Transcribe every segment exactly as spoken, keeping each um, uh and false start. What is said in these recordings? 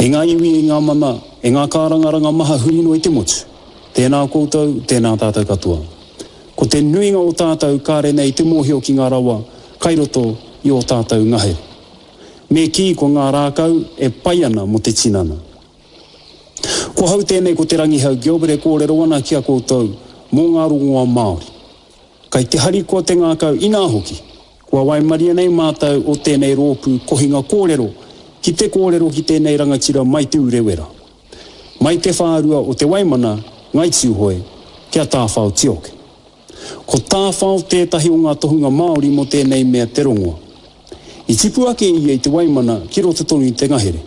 E ngā iwi, e ngā mana, e ngā kārangaranga maha huri noa i te motu. Tēnā koutou, tēnā tātou katoa. Ko te nuinga o tātou kāre nei te mōhio ki ngā rawa kai roto i ō tātou ngahere. Me kī ko ngā rākau e pai ana mō te tinana. Ko hau tēnei ko Te Rangihau Gilbert e kōrero ana ki a koutou mō ngā rongoa Māori. Kai te harikoa te ngākau inā hoki, kua waimaria nei mātou o tēnei rōpū kohinga kōrero ki te kōrero ki tēnei rangatira mai Te Urewera. Mai te whārua o Te Waimana, Ngai Tūhoe, kia Tāwhao Tioke. Ko Tāwhao tētahi o ngā tohunga Māori mō tēnei mea te rongoa. I tipu ake ia i Te Waimana ki roto tonu i te ngahere.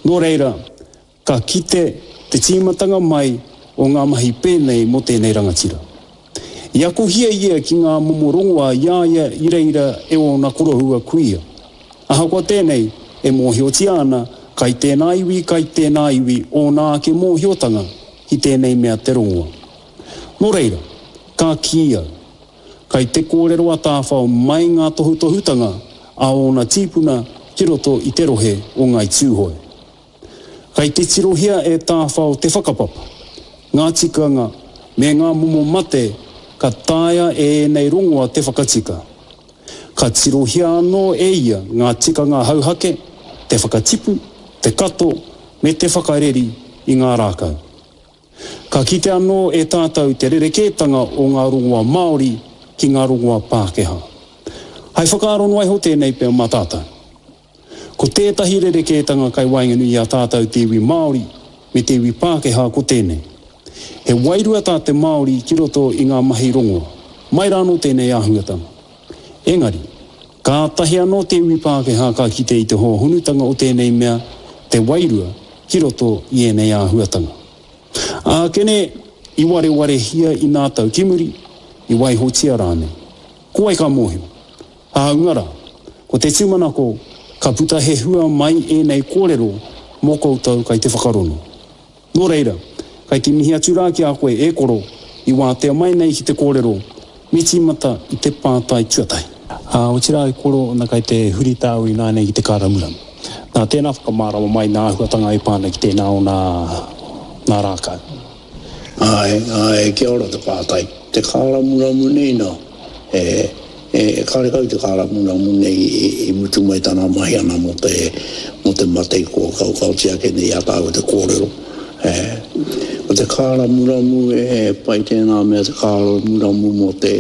Nō reira, ka kite te tīmatanga mai o ngā mahi pēnei mō tēnei rangatira. I akohia ia ki ngā momo rongoa i a ia i reira e ōna koroua kuia. Ahakoa tēnei, e mōhiotia ana, kai tēnā iwi, kai tēnā iwi ōna ake mōhiotanga ki tēnei mea te rongoa. Nō reira, ka kī au, kai te kōrero a Tāwhao mai ngā tohutohutanga a ōna tīpuna ki roto i te rohe o Ngāi Tūhoe. Kai te tirohia e Tāwhao te whakapapa, ngā tikanga me ngā momo mate ka taea e ēnei rongoa te whakatika. Ka tirohia anō e ia ngā tikanga hauhake, te whakatipu, te kato me te whakareri i ngā rākau. Ka kite anō e tātou te rerekētanga o ngā rongoa Māori ki ngā rongoa Pākehā. Hai whakaaro noa iho tēnei pea mā tātou. Ko tētahi rerekētanga kai waenganui i a tātou te iwi Māori me te iwi Pākehā ko tēnei. He wairua tā te Māori ki roto i ngā mahi rongoa. Mai rānō tēnei āhuatanga. Engari, kātahi anō te iwi Pākehā ka kite i te hōhonutanga o tēnei mea, te wairua, ki roto i ēnei āhuatanga. Ākene, i warewarehia i nā tau ki muri, i waihotia rānei. Ko wai ka mōhio? Hāunga rā, ko te tūmanako ka puta he hua mai ēnei kōrero mō koutou kai te whakarono. Nō reira, kai te mihi atu rā ki a koe e koro i wātea mai nei ki te kōrero, me tīmata i te pātai tuatahi. Ā, otirā e koro, na kai te huri tāu ināianei ki te kāramuramu. Nā, tēnā whakamārama mai nā āhuatanga e pā ana ki tēnā o nā, nā rākau. Āe, āe, kia ora te pātai. Te kāramuramu nei nā, e, e, karekau te kāramuramu nei i, i mutu mai tana mahi ana mō te, mō te mate i kua kaokaotia ake nei i a tāua te kōrero. E, ko te kāramuramu, e, pai tēnā mea te kāramuramu mō te,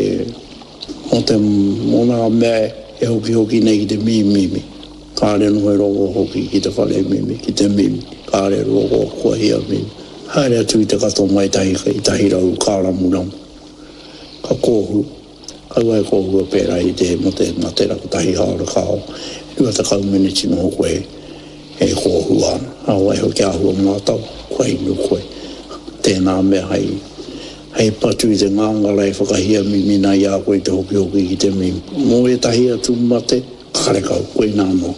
mō te, mō nā mea e hokihoki nei ki te mimimi. Kāre noho e rongo hoki ki te whare mimi, ki te mimi, kāre rongo kua hia mimi. Haere atu i te kato mai tahi, i tahi rau kāramuramu. Ka kōhu, kaua e kōhua pērā i te mō te matera kotahi hāora ka ao, rua tekau meneti noho koe e kōhua ana. Ā, waiho kia āhua mātau, kua inu koe. Tēnā mea hei, hei patu i te ngāngara e whakahia mimi nā i a koe i te hokihoki ki te mimi. Mō ētahi atu mate, Karekau, koinā anō,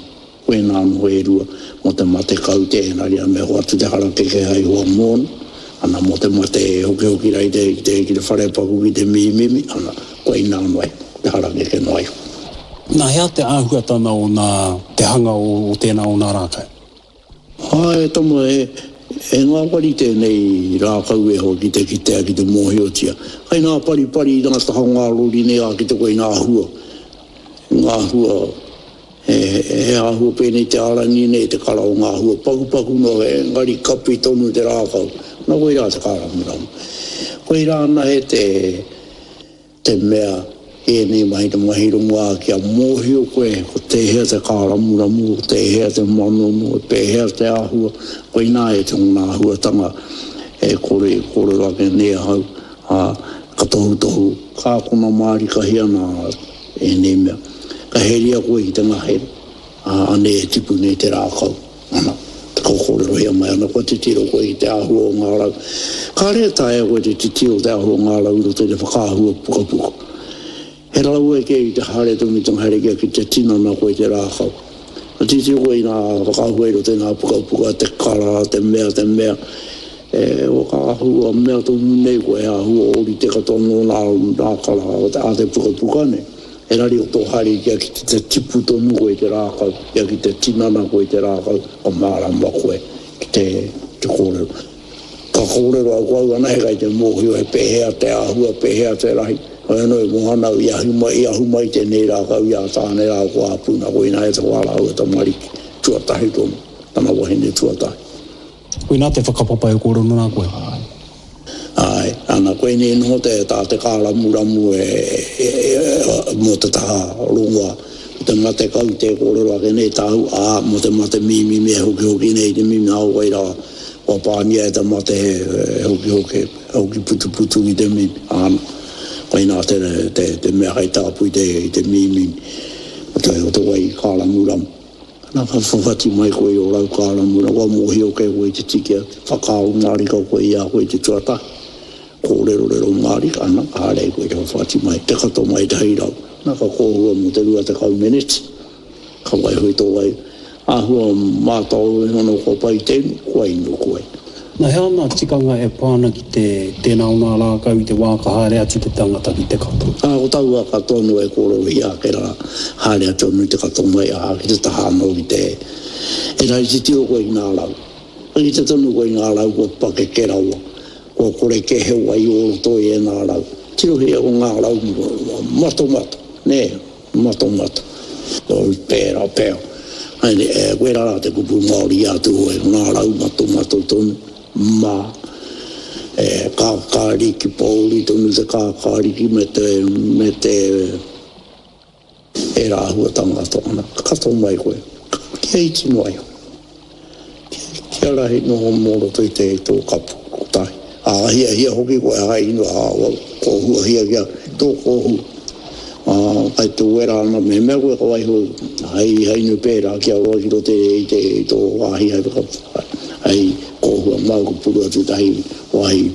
koinā anō e rua, mō te mate kaute, engari me hoatu te harakeke hai hoa mōna, ana, mō te mate e hokihoki rā i te, ki te, ki te wharepaku, ki te mimimi, ana, koinā anō ai, te harakeke noa iho. Nā, he aha te āhuatana o nā, te hanga o, o tēnā o nā rākau? Āe, e tama, he, he ngāwari tēnei rākau e hoa ki te kitea, ki te mōhiotia. Kai ngā paripari i ngā taha o ngā rori nei ā, ki te koe i ngā hua. Ngā hua, he, he āhua pēnei te ārangi nei, te kara o ngā hua pakupaku noa, engari kapi tonu te rākau. Nā, koirā te kāramuramu. Koirā anahe te, te mea, ēnei mahi te mahi rongoā kia mōhio koe ko tēhea te kāramuramu, ko tēhea te manono, e pēhea te āhua, koinā e tōna āhuatanga e kore e kōrero ake nei ahau, ā, ka tohutohu, ka akona mārikahia nā ēnei mea. Ka heria koe ki te ngahere, ā, anei e tipu nei te rākau, ana, ka kōrerohia mai ana, kua titiro koe ki te āhua o ngā rau. Kāre e taea koe te titiro te āhua o ngā rau i roto i te whakaahua pukapuka. He rawe kē i te haere tonu i te ngahere kia ki te tinana koe i te rākau. Ka titiro koe i ngā whakaahua i roto i ngā pukapuka, te kara, te mea, te mea, e whakaahua mea tonu nei koe, he āhua ōrite katoa nō ngā rākara a te pukapuka nei. Engari ko tō haere kia ki te tipu tonu koe i te rākau, kia ki te tinana koe i te rākau, ka mārama koe Ki te, te kōrero. Ka kōrero au ko au anahe kai te mōhio he pēhea te āhua, pēhea te rahi. Hoi anō e mohana au i ahu mai, i ahu mai tēnei rākau i a Tāne rā ko Āpuna, koina e te wā rāua tamariki, tuatahi tonu, tana wahine tuatahi. Koina te whakapapa e kōrero nā koe? Āe. Āe, ana, koinei noho te, tā te kāramuramu e, e, e, mō te taha rongoa, ko te mate kau tē kōrero ake nei tāu, ā, mō te mate mīmimi e hokihoki nei te mimi, nā wai rā, kua pāngia e te mate he, he hokihoki, he hoki putuputu ki te mimi, āna, koinā te, te, te mea hei tāpui te, i te mīmimi, o te, o te wai kāramuramu. Ana ka whawhati mai koe i ō rau kāramura, kua mōhio kē koe i te tiki atu, whakaaro mārika koe i a koe i te tuatahi, kōrerorero mārika, ana, ka haere ai koe i te whawhati mai, te kato mai te hei rau, ana ka kōhua mō te rua tekau meneti, ka waiho i tō wai, āhua mātao iho nō kua pai te inu, kua inu koe. Na, he aha ngā tikanga e pā ana ki te tēnā o ngā rākau i te wā ka haere atu te tangata ki te kato? Ā, ko taua katoa anō e kōrerohia ake rā, haere atu anō i te kato mai, ā, ki te taha anō ki te, engari titiro koe ki ngā rau. Ka kite tonu koe i ngā rau kua pakeke rawa, kua kore kē he wai o roto i ēnā rau. Tirohia ko ngā rau matomato, nē, matomato. Pērā pea. Koirā rā te kupu Māori i a Tūhoe, ko ngā rau matomato tonu, mā, e, kākāriki, pōuri tonu te kākāriki me te, me te, ērā āhuatanga katoa. Ana, ka kato mai koe, kia iti noa iho. Kia rahi noho mō roto i te tō kapu kotahi. Ā, hiahia hoki koe hai inu, ā, kōhuahia kia tō kōhua. Ā, kai te wera ana, mehemea koe ka waiho hei, hei inu pērā kia roa ki roto i te, i tō wāhi hai whaka, hei kōhua māu ka puru atu tahi wāhi,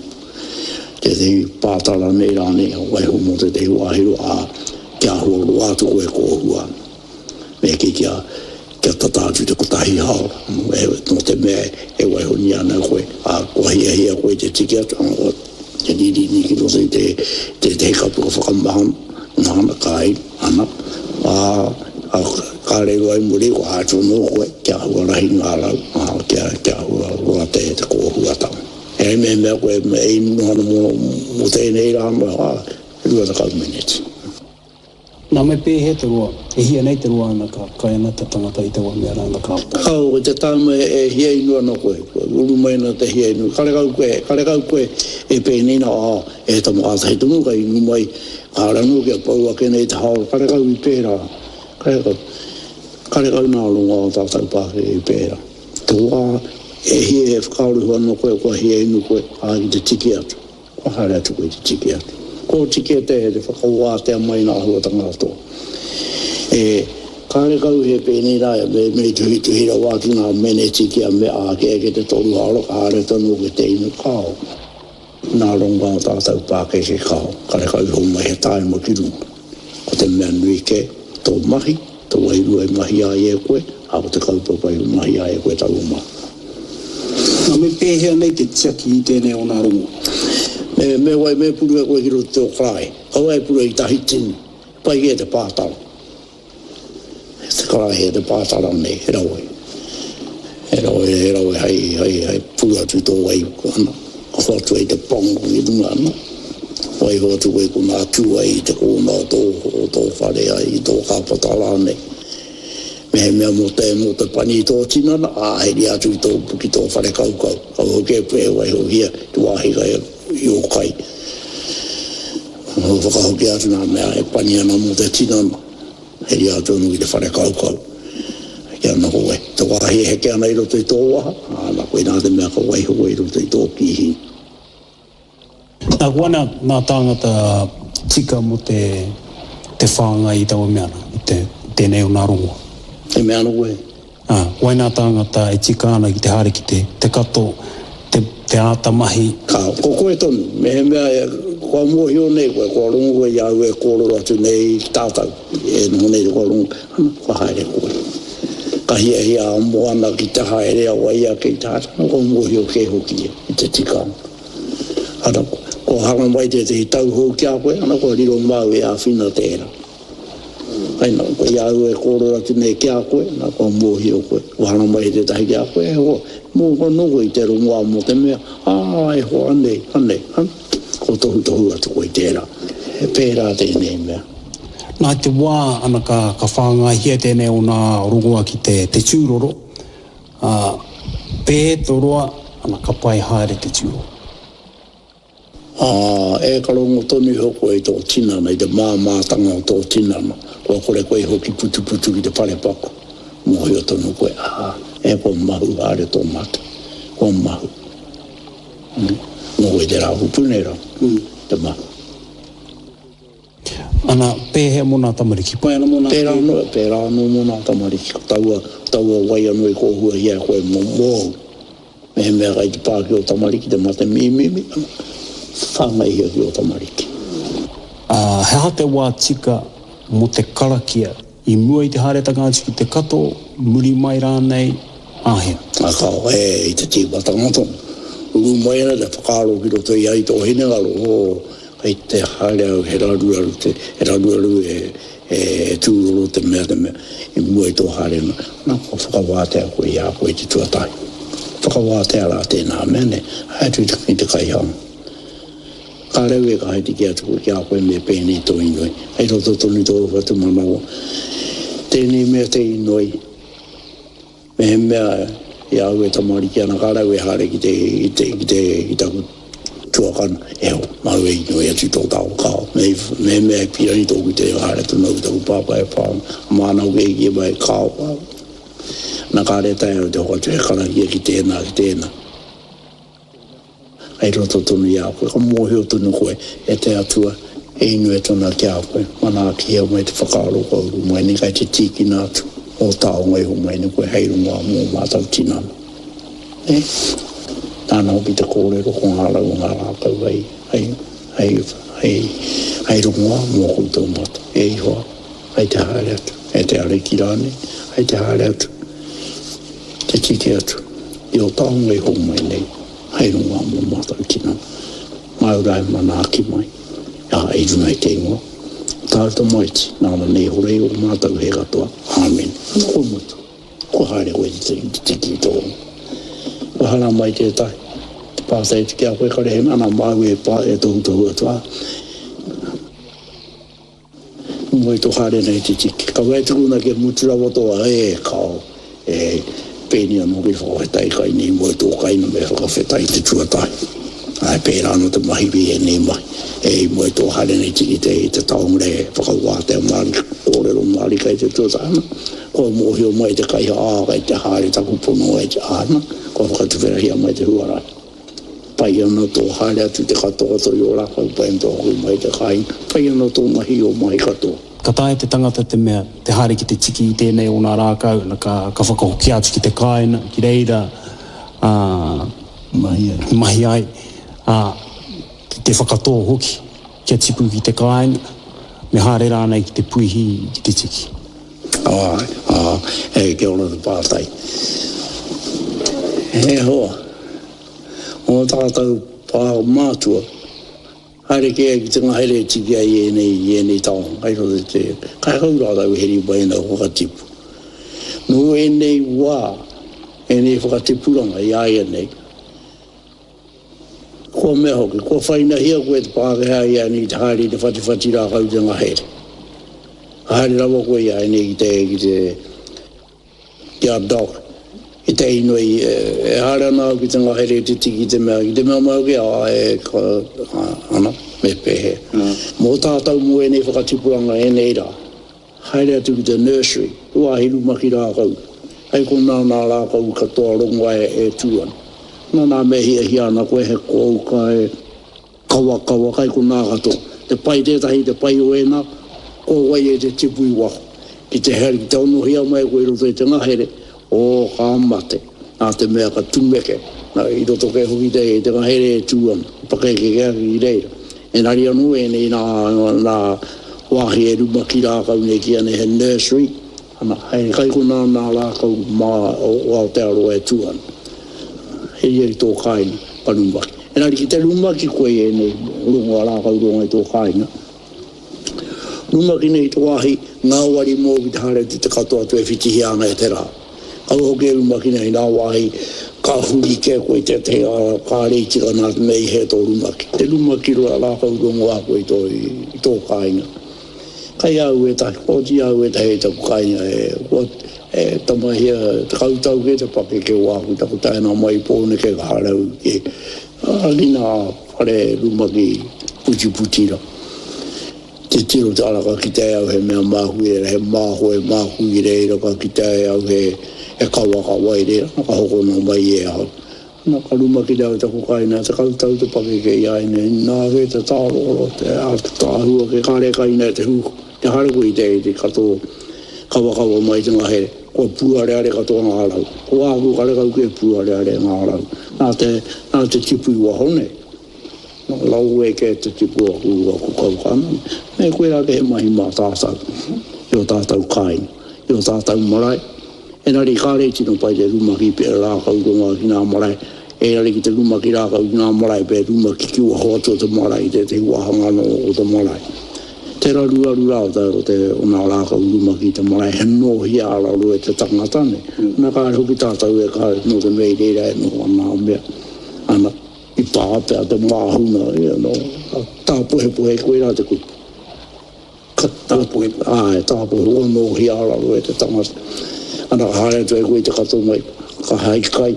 tētehi pātara nei rānei, waiho mō tētehi wāhi roa, ā, kia āhua roa atu koe kōhua ana. Me kī kia, kia tata atu te kotahi haora, nō te mea e waihonia ana koe, ā, kua hiahia koe te tiki atu, ā, te rīrīni ki roto i te, tētehi kapu ka whakamahana, mahana ka ai, ana, ā, ā, ka rere ai muri, kua atu anō koe, kia āhua rahi ngā rau, ā, kia, kia āhua roa te, te kōhuatanga. Engari mehemea koe e inu ana mō, mō tēnei rā, ā, rua tekau meneti. Nā, me pēhea te roa, e hia nei te roa ana ka kai ana te tangata i taua mea rā ana ka pai? Kao, ko te tāma e hia inu ana koe, kua uru mai ana te hia inu, karekau koe, karekau koe e pēnei nā, ā, e tama kātahi tonu ka inu mai, kāre anō kia pau ake nei te haora, karekau i pērā, karekau, karekau nā rongoā o tātou pākeke i pērā. Te wā e hia e whakaaro iho ana koe, kua hia inu koe, ā, ki te tiki atu. Kua haere atu koe te tiki atu. Kua oti kē te whakawātea mai ngā āhuatanga katoa. E, kārekau he pēnei rā, me, me tuhituhi rawa atu ngā meneti kia mea ake ake te toru haora, ka haere tonu ki te inu, kāo. Nā rongoā o tātou pākeke kāo, karekau iho mai he tāima ki runga. Ko te mea nui kē, tō mahi, tō wairua i mahia ai e koe, ā, ko te kaupapa i mahia ai e koe taua mahi. Nā, me pēhea nei te tiaki i tēnei o nā rongo? Me, me wai, me puru e koe ki roto i tō karaehe. Kaua e puru i tahi tini. Pai kē te pātara. Te karaehe, te pātara nei, he rawe. He rawe, he rawe hei, hei, hei puru atu i tō wai, ana, ka hoatu ai te pango ki runga, ana. Waiho atu koe konā tū ai i te kōna o tō, o tō whare ai, i tō kāpata rānei. Mehemea mō te, mō te pani i tō tinana, ā, heria atu ki tō, ki tō whare kaukau. Kaua hoki e e waihohia te wāhi kai i ō kai. Whakahokia atu ngā mea e pani ana mō te tinana, heria atu anō ki te whare kaukau. Kia noho e, te wāhi e heke ana i roto i tō waha, ā, nā koinā te mea ka waiho koe i roto i tō kīhini. Nā, ko ana ngā tāngata tika mō te, te whāngai i taua mea rā, i te, tēnei o nā rongoa. E mea ana koe? Ā, ko wai nā tāngata e tika ana ki te haere ki te, te kato, te, te āta mahi. Ka, ko koe tonu, mehemea e, kua mōhio nei koe, kua rongo koe i a au e kōrero atu nei ki tātou, e noho nei te kua rongo, ana, kua haere koe. Ka hiahia a Moana ki te haere a wai ake i te haere, ana, kua mōhio kē hoki ia i te tikanga. Ana, kua hanga mai tētehi tauhou ki a koe, ana, kua riro māu e āwhina tērā. Kai nā, koe i au e kōrero atu nei ki a koe, nā kua mōhio koe, kua hana mai tētahi ki a koe, e hoa, mō anō koe i te rongoā mō te mea, ā, e hoa, anei, anei, an, ko tohutohu atu koe i tērā. He pērā tēnei mea. Nā te wā, ana ka, ka whāngaihia tēnei o nā rongoā ki te, te tūroro, ā, pē tō roa, ana ka pai haere te tūroro. Ā, e ka rongo tonu iho koe i tō tinana, i te māmātanga o tō tinana, kua kore koe i hoki putuputu ki te wharepaku, mōhio tonu koe, ā, e kua mahu haere tō mata, kua mahu. Mm. Nō koe te rā kupu nei rā, mm, te mahu. Ana, pēhea mō nā tamariki? Pai ana mō nā Pērā anō, pērā anō mō nā tamariki. Ko taua, taua wai anō i kōhuahia e koe mō mōu. Mehemea kai te pā ki ō tamariki, te mate mīmīmi, ana, whāngaihia ki ō tamariki. Ā, he aha te wā tika mō te karakia i mua i te haeretanga atu ki te kato, muri mai rānei, āhea? Ā, kao, e, i te tīmatanga tonu. Uru mai ana te whakaaro ki roto i a i tō hinengaro, ō, kei te haere au, he raruraru te, he raruraru e, e, e tūroro te mea, te mea, i mua i tō haerenga. Nā, kua whakawātea koe i a koe i te tuatahi. Whakawātea rā tēnā mea, nē, haere atu i te, i te kaihanga. Ka rau e ka haere ki atu koe ki a koe me pēnei tō inoi. Hei roto tonu tō whatumanawa. Tēnei mea te inoi. Mehemea i a au e tamariki ana, ka rau e haere ki te, ki te, ki te, ki taku tuakana, e ho, māu e inoi atu tō tāo kao. Me, mehemea e pīrangi tōku te haere tonu au ki taku pāpā e pā ana, māna hoki e kī mai, kao, kao. Nā kāre taea au te hoatu he karakia ki tēnā, ki tēnā. Hei roto tonu i a koe, ka mōhio tonu koe e te Atua, e inoi atu ana ki a koe, manaakihia mai te whakaaro kua uru mai nei, kai te tīkina atu ō taonga iho mai nei koe hei rongoā mō mātou tinana. Nē? Nāna hoki te kōrero ko ngā rau o ngā rākau hei, hei, hei, hei, hei rongoā mō koutou mata. E Ihoa, hei te haere atu, e te Ariki rānei, hei te haere atu, te tiki atu i ō taonga iho mai nei, hei rongoā mō mātou tinana. Māu rā e manaaki mai, ā, i runga i te ingoa o tāu tamaiti, nāna nei hora i ō mātou he katoa. Āmine. Ana kua mutu. Kua haere koe te tiki i tō. Kua hara mai tētahi, te pātai atu ki a koe, kare he mana māu e pā, e tohutohu atu, ā. Moe tō haere nei te tiki. Ka wai tukuna kia mutu rawa tō, e, kao, e, pēnei anō ki te whakawhetai kai nei moe tō kaina me whakawhetai te tuatahi. Ai, pērā anō te mahi i ēnei mahi. E, i moe tō haere nei tiki te, te taonga e whakawātea mārika, kōrero mārika i te tuatahi ana. Kua mōhio mai te kaiha, ā, kai te haere taku pono e te āna, kua whakatuwherahia mai te huarahi. Pai ana tō haere atu te katoa i ō rākau, pai ana tō hoki mai te kāinga, pai ana tō mahi i ō mahi katoa. Ka taea te tangata te mea, te haere ki te tiki i tēnei o ngā rākau, na ka, ka whakahokia atu ki te kāinga, ki reira, ā, Mahi ai. mahi ai, ā, ki te whakatō hoki, kia tipu ki te kāinga, me haere rānei ki te puihi, ki te tiki. Āe, ā, e, kia ora te pātai. He hoa, o tātou pā mātua, haere kē ki te ngahere e tiki ai i ēnei, i ēnei taonga, kai roto i te, kai hau rātou heri mai ana whakatipu. Nō ēnei wā, ēnei whakatipuranga i a ia nei, kua mea hoki, kua whainahia koe te Pākehā i a nei te haere i te whatiwhati rākau te ngahere. Ka haere rawa koe i a nei ki te, ki te, ki a Doc, i te inoi, e, e haere ana au ki te ngahere te tiki te mea, ki te mea mai hoki, a, e, ka, a, ana, me pēhea. Mō tātou mō ēnei whakatipuranga ēnei rā, haere atu ki te nursery, te wāhi rumaki rākau, hei konā nā rākau katoa rongoa e, e tū ana. Nā nā me hiahia ana koe he kōuka e kawakawa kai konā katoa. Te pai tētahi, te pai o ēnā, ko wai e te tipu i waho. Ki te here, ki te onohia mai koe i roto i te ngahere, o ka mate. Nā te mea ka tumeke, nā, i roto kē hoki te, te ngahere e tū ana, pakeke kē ake ki reira. Engari anō ēnei nā, nā wāhi e rumaki rākau nei ki ana he nursery, ana, hei kai konā nā rākau mā o, o Aotearoa e tū ana. He ia i tō kāinga, ka rumaki. Engari ki te rumaki koe i ēnei rongoa rākau rongo i tō kāinga, Rumaki nei te wāhi, ngāwari mō ki te haere te te katoa atu e whitihia ana e te rā. Kaua hoki e rumaki nei nā wāhi, ka huri kē koe i tētahi ara, kāre i tika nā te mea i hē tō rumaki. Te rumaki roa rākau rongoā koe i tō, i tō kāinga. Kai au ētahi, kua oti au ētahi i taku kāinga e, kua, e tamahia, tekau tau kē te pakeke o āku, taku taenga mai i Pōneke ka haere au ki, ki nā whare rumaki putiputi rā. Titiro te ara ka kitea e au he mea māku i reira, he māhoe māku i reira, ka kitea e au he, he kawakawa i reira, ka hokona mai e ahau. Nā ka rumakina au taku kāinga, tekau tau te pakeke i a ia nei, nā kē te tāroro, te ātaahua ke kāre kaina e te hū, te haere koe i te, i te katoa kawakawa mai te ngahere, kua pūareare katoa ngā rau. Ko āku karekau kē pūareare ngā rau. Nā te, nā te tipu i waho nei. Lawe kē te tipu o aku, aku kaukana. Me koe rā ke he mahi mā tātou, i o tātou kāinga, i o tātou marae. Engari kāre i tino pai te rumaki pe rākau rongoa ki ngā marae. Engari ki te rumaki rākau ki ngā marae pe rumaki ki waho atu o te marae, i tētahi wāhanga anō o te marae. Te raruaru rā o te, o te, o ngā rākau rumaki i te marae, he nōhia a raro e te tangata nei. Nā kāre hoki tātou e kāre nō te mea i reira e noho ana a mea. Ana, i pā pea te māhuna, ia no, tāpohepohe koe rā te kupu. Ka tāpohepohe, āe, tāpohe, kua nōhia a raro e te tangata. Ana ka haere atu e koe i te kato mai, ka hai kai,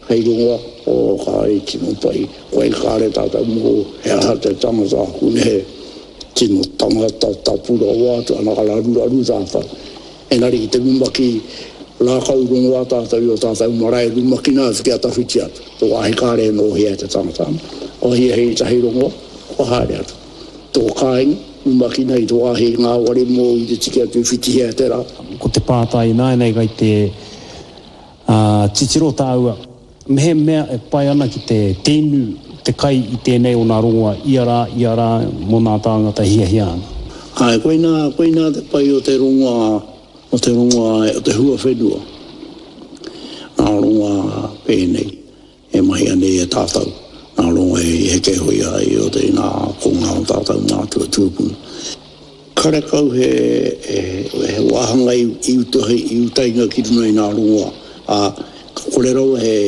hei rongoa, o ka i tino pai, koe kāre tātou mō, he aha te tangata aku nehe, tino tangata tapu rawa atu, ana ka raruraru tātou. Engari ki te rumaki, rākau rongoa tātou i o tātou marae rumakina atu kia tawhiti atu. Tō wāhi kāre e nōhia e te tangata ana. Kua hiahia i tahi rongoa, kua haere atu. Tō kāinga, rumakina i tō wāhi ngāwari mōu i te tiki atu i whitihia e te rā. Ko te pātai ināianei kai te titiro tāua, mehemea e pai ana ki te tēnu te kai i tēnei o nā rongoa ia rā, ia rā mō nā tāngata e hiahia ana. Āe, koinā, koinā te pai o te rongoa, o te rongoa, o te huawhenua. Nā rongoa pēnei e mahia nei e tātou, nā rongoa e heke hoi ai o te nā konga o tātou mātua tūpuna. Karekau he, he, he wāhanga i, i, utahi, i utaina ki runga i nā rongoa, ā, ka kore rawa he,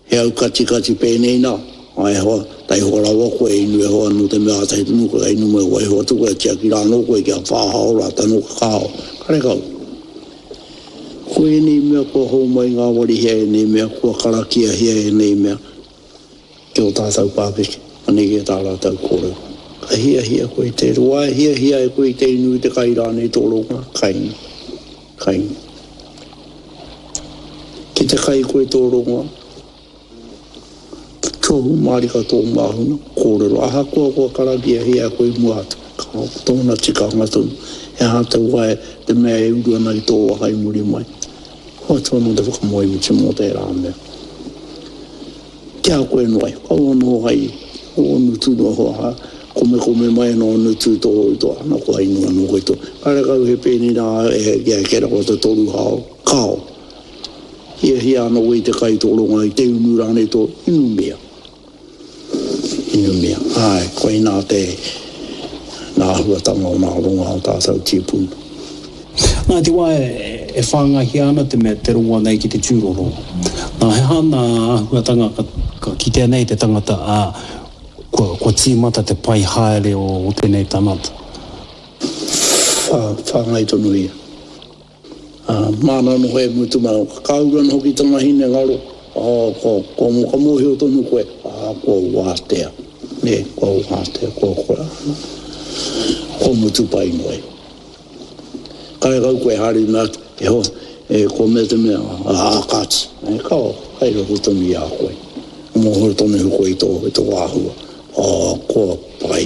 he aukatikati pēnei nā, ai hoa, taihoa rawa koe inu e hoa nō te mea ātahi tonu koe, inu mai waiho atu koe, tiaki rā anō koe kia whā hāora tano ka kāo. Karekau. Ko ēnei mea kua hōmai ngāwarihia ēnei mea, kua karakiahia ēnei mea ki o tātou pākeke, anei kē tā rātou kōrero. Ka hiahia koe i te roa, e hiahia e koe i te inu i te kai rānei tō rongoa, kainga, kainga. Ki te kai koe tō rongoa, tohu mārika tō māhuna, kōrero, ahakoa kua karakiahia koe i mua atu, ka tōna tikanga tonu, he aha te wae, te mea e uru ana i tō waka i muri mai. Hoatu anō te whakamoemiti mō tērā mea. Ki a koe noa iho, kaua noho hai o nutu noa hoa, ha, komekome mai anō nutu tō i tō, ana kua inu anō koe tō. Karekau he pēnei rā e kia eke rawa te toru hao, kao. Hiahia ana koe i te kai tō rongoa, i te unu rānei tō, inumia. Inumia. Āe, koinā te nā āhuatanga o nā rongoa o tātou tīpuna. Nā, te wā e whāngaihia ana te mea te rongoa nei ki te tūroro. Nā, he aha nā āhuatanga ka, ka kitea nei te tangata, ā, kua, kua tīmata te pai haere o, o tēnei tangata? Whā, whāngai tonu ia. Ā, māna anō e mutu mai, ka uru anō hoki tana hinengaro, ā, kua, kua, ka mōhio tonu koe, ā, kua wātea, nē, kua wātea, kua, kua, kua mutu pai noa iho. Karekau koe haere i mea atu, e hoa, e kua mea te mea, ā, kāti, e kao, kai roto tonu i a koe. Mōhio tonu iho koe i tō, i tō āhua, ā, kua pai.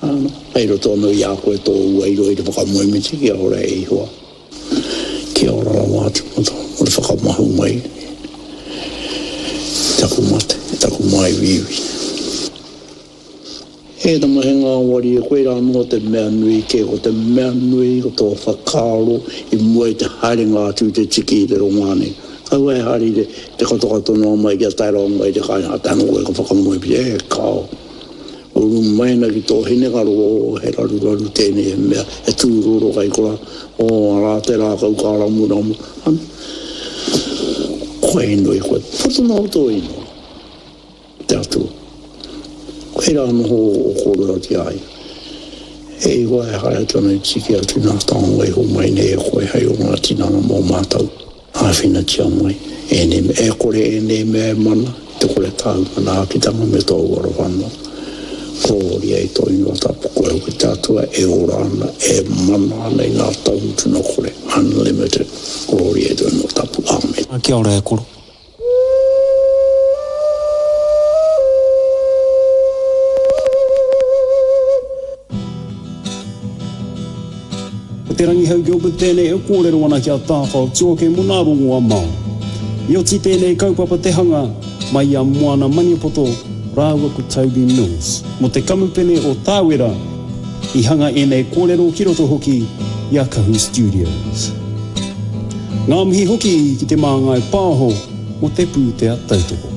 Āna, kai roto anō i a koe tō uairua i te whakamoemiti kia ora e Ihowa. Kia ora rawa atu mō te, mō te whakamahu mai i taku mate, i taku māiuiui. E tama, he ngāwari e koe rā noa te mea nui kē, ko te mea nui ko tō whakaaro i mua i te haerenga atu i te tiki i te rongoā nei. Kaua e haere i te, te katokato noa mai kia tae rawa mai i te kāinga, tae noa koe ka whakamoe pia, e kāo. Uru mai ana ki tō hinengaro, oh, he raruraru tēnei, he mea, he tūroro kai korā, oh, arā te rākau ka ramuramu. Ana, koe inoi koe, poto noa tō inoi, te Atua. Koe rā noho o kōrero ki a ia. E iwa e haere atu ana i tiki atu nā taonga i homai nei e koe hei o ngā tinana mō mātou. Āwhinatia mai ēnei mea, e kore ēnei mea e mana, i te kore tāu manaakitanga me tōu aroha noa. Korōria i tō ingoa tapu, koe hoki te Atua e ora ana, e mana ana i ngā tau mutunga kore, unlimited. Korōria i tō ingoa tapu. Āmene. Kia ora e koro. Ko Te Rangihau Gilbert tēnei e kōrero ana ki a Tāwhao Tuoke mō nā rongoa Māori. I oti tēnei kaupapa te hanga mai i a Moana Maniapoto rāua ko Toby Mills mō te kamupene o Tāwera i hanga ēnei kōrero ki roto hoki i a Kahu Studios. Ngā mihi hoki ki Te Māngai Pāho mō te pūtea tautoko.